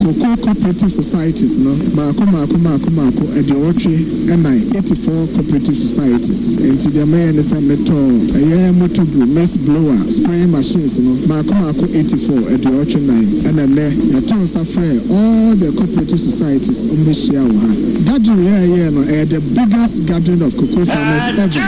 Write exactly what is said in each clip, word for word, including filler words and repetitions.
Cocoa cooperative societies no baako maako maako maako aduɔwɔtwe ɛnan, eighty four cooperative societies. Nti deɛ mɛyɛ ne sɛ metɔ ɛyɛ motobu, mist blower, spraying machines no maako maako eighty four, aduɔwɔtwe nan. Ɛna nnɛ yɛtɔ nsa frɛ all the cooperative societies, ɔmo bɛhyia wɔ ha. Gathering yɛ ɛyɛ no, ɛyɛ the biggest gathering of cocoa farmers ever in Ta.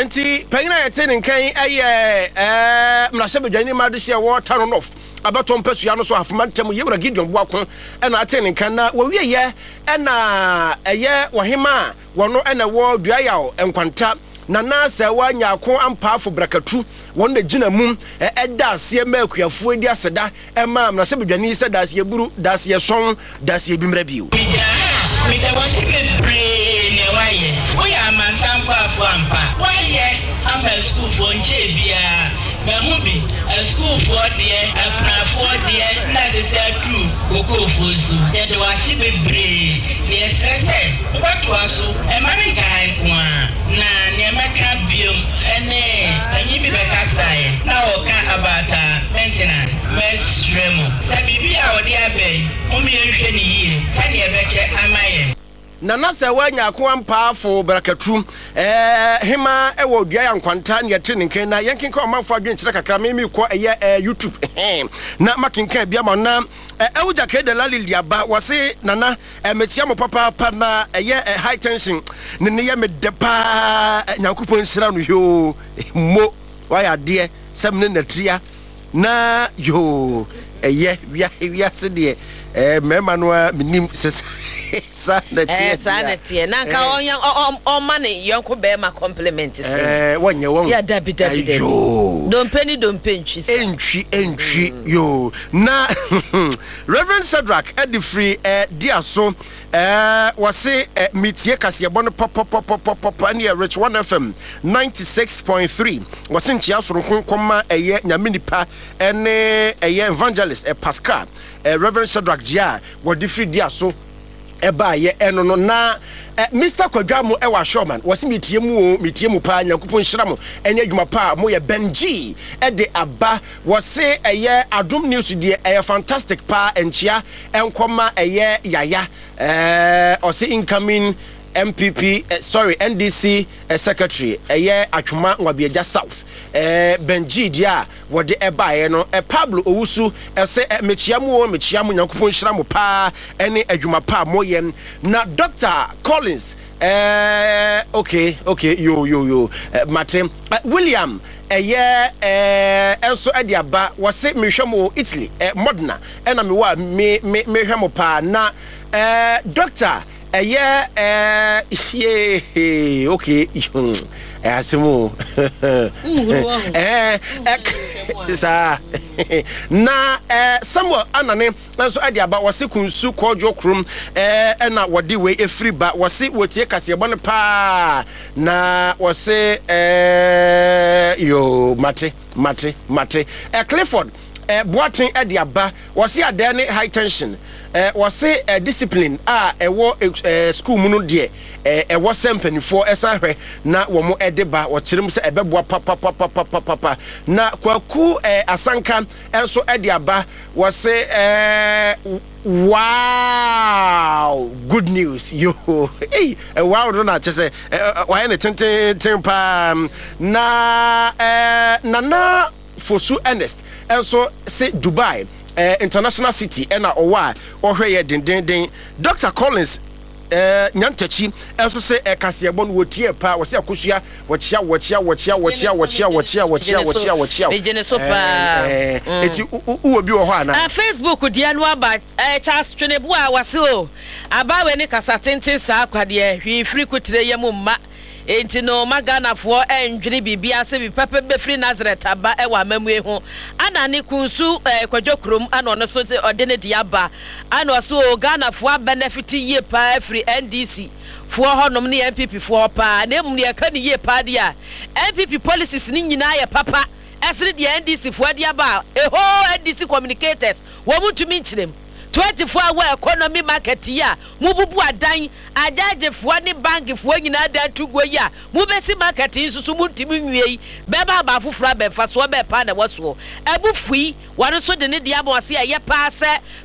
Nti panyin a yɛte ne nkan ɛyɛ ɛɛ mmarahyɛbadwani ma de hyɛ wɔ Tano North abɛtɔ mpasua no so, Ahafo Mantam, Yɛwura Gideon Boako ɛna ate ne nkan. Na wɔwieyɛ ɛna ɛyɛ wɔhema a wɔno ɛna wɔ Duayaw Nkwanta, Nana Sɛwa Nyaako Ampaafo Brakatu, wɔn na gyina mu ɛda aseɛ ma akuafoɔ di aseda ɛma mmarahyɛbadwani sɛ daaseɛ buru, daaseɛ sɔn, daaseɛ bi mmerɛ bio. Meda wase bebree nea woayɛ. Woyɛ amansan boafo ampa. Woayɛ ama asukuufoɔ nkyɛɛ biara mahu bi, asukuufoɔ deɛ, akunafoɔ deɛ, na ɛsɛ sɛ aduru kokoofoɔ so. Yɛde wase bebree na yɛsrɛ sɛ wobɛtoa so, ɛma ne nkaha nko a. Na nea mɛka biom ɛne panyin bi bɛkasaeɛ na wɔka about maintenance. Mɛsrɛ mu sɛ biribi a wɔde aba yi, mom yɛnhwɛ ne yie sɛdeɛ ɛbɛkyɛ ama yɛn. Nana sɛ woanya ako ampaafo Brakatu, ɛɛ hema ɛwɔ Dua yɛ Nkwanta ne yɛte ne nkan. Na yɛnkenka ɔmanfo adwenkyerɛ kakra. Me mekɔ ɛyɛ ɛɛ YouTube na makenkan bi ama na ɛwogya kɛ Delali Liaba wɔse, "Nana, mekyia mo papaapa na ɛyɛ high tension ne ne yɛ medɛ paa. Nyankopɔn nhyira no." Yoo, mo wayɛ adeɛ sɛ mene natia na yoo, ɛyɛ wia wiase deɛ, ɛɛ mmarima no a menim sɛ saa na teɛ. Ɛɛ, saa na teɛ na nka ɔnyɛ ɔma ne yɔnko bɛrima compliment sɛ. ɛɛ wɔnyɛ wɔn. Yɛ, dabi dabi dabi, dompe ni dompe ntwi sa. Ntwi ntwi yoo. Na Reverend Shadrach ɛde firi ɛɛ dia so, ɛɛ wɔse ɛ metie kaseɛbɔ no pɔpɔpɔpɔpɔpɔ ɛne yɛ Rich One F M ninety six point three. Wɔse nkyia soronko nkɔma ɛyɛ Nyame nipa ɛne ɛyɛ Evangelist ɛ Pascal. ɛ Reverend Shadrach gyia a wɔde firi dia so ɛbaayɛ ɛno no. Na ɛ Mister Kwadwamo ɛwɔ Asɔman, wɔsi metie mu o, metie mu paa. Nyankopɔn nhyira mo ɛnyɛ adwuma paa mo yɛ. Benji ɛde aba, wɔse ɛyɛ Adom News deɛ, ɛyɛ fantastic paa. Nkyia ɛnkɔma ɛyɛ Yaya, ɛɛ ɔse incoming N P P, eh, sorry, N D C eh, secretary ɛyɛ Atwoma Nwabiagya South. eh, Benji deɛ a wɔde ɛbaeɛ no. eh, Pablo Owusu ɛsɛ eh, mekyia mu o, mekyia mu, Nyankopɔn nhyira mo paa ɛne adwuma pa a moyɛ. Na Doctor Collins, eh, okay okay yo yo yo, eh, mate. eh, William ɛyɛ ɛɛ ɛnso ɛde aba, wɔse mehwɛ mo Italy, eh, Modena ɛna mewɔ a me me mehwɛ mo paa. Na ɛɛ doctor ɛyɛ ɛɛ yee, okay, ɛyɛ asɛm o, ɛɛ ɛ saa. Na ɛɛ Samuel Anane nso ɛde aba, wɔse Kunsu Kɔɔdwo kurom ɛɛ ɛna wɔde wei efiri ba. Wɔse wɔtie kaseɛbɔ no paa na wɔse ɛɛ yoo, mate mate mate. ɛ Clifford ɛ Boaten ɛde aba, wɔse adan ne high tension. ɛ wɔse ɛ discipline a ɛwɔ ɛ school mu no deɛ, ɛ ɛwɔ sɛ mpanimfoɔ ɛsan hwɛ na wɔn ɛde ba. Wɔkyerɛ mu sɛ ɛbɛboa papapapapapa. Na Kwaku ɛ Asanka ɛnso ɛde aba, wɔse ɛɛ "Wow, good news yo." Ei, wow no na kyɛ sɛ wayɛ ne tententen paa. Na ɛɛ Nana Fosu Ernest ɛnso se Dubai ɛɛ International City ɛna ɔwɔ a ɔhwɛ yɛ dendenden. Doctor Collins ɛɛ Nyantakyi ɛnso sɛ ɛkaseɛbɔ no wɔtie paa. Wɔsɛ Akosua, wɔkyia wɔkyia wɔkyia wɔkyia wɔkyia wɔkyia wɔkyia wɔkyia wɔkyia. Megyene so paa. ɛɛ eti wowɔ bi wɔ hɔ ana? Ah, Facebook deɛ no aba. ɛɛ Charles Twenebo a wase o, abawe ne kasa tenten saa kwadeɛ hwee firi kutire yɛ mu mma. Enti no ma Ghanafoɔ ɛndwene biribi ase bi pɛpɛ bɛfiri Nazareth aba ɛwɔ amamue ho. Ana ne Kunsu ɛɛ Kwadwo kurom ana ɔno so ɔde ne de aba ana ɔso o, Ghanafoɔ abɛnɛfiti yie paa firi N D C foɔ hɔnom ne N P P foɔ hɔ paa. Na emu deɛ ɛka ne yie paa deɛ a, N P P policies ne nyinaa yɛ papa ɛsene deɛ N D C foɔ de aba a ɛhɔ. N D C communicators wɔn mu ntumi nkyerɛ mu. Twenty four hour economy market yi a mububu adan, agyagyefoɔ ne bankfoɔ nyinaa dan to guo yi a mubɛsi market yi nso so muntumi nwie yi, bɛrima aba afoforɔ abɛnfa soɔ bɛɛ paa na ɛwɔ soɔ. Ɛbu fui wɔn nso de ne deɛ ama ɔse ɛyɛ paa sɛ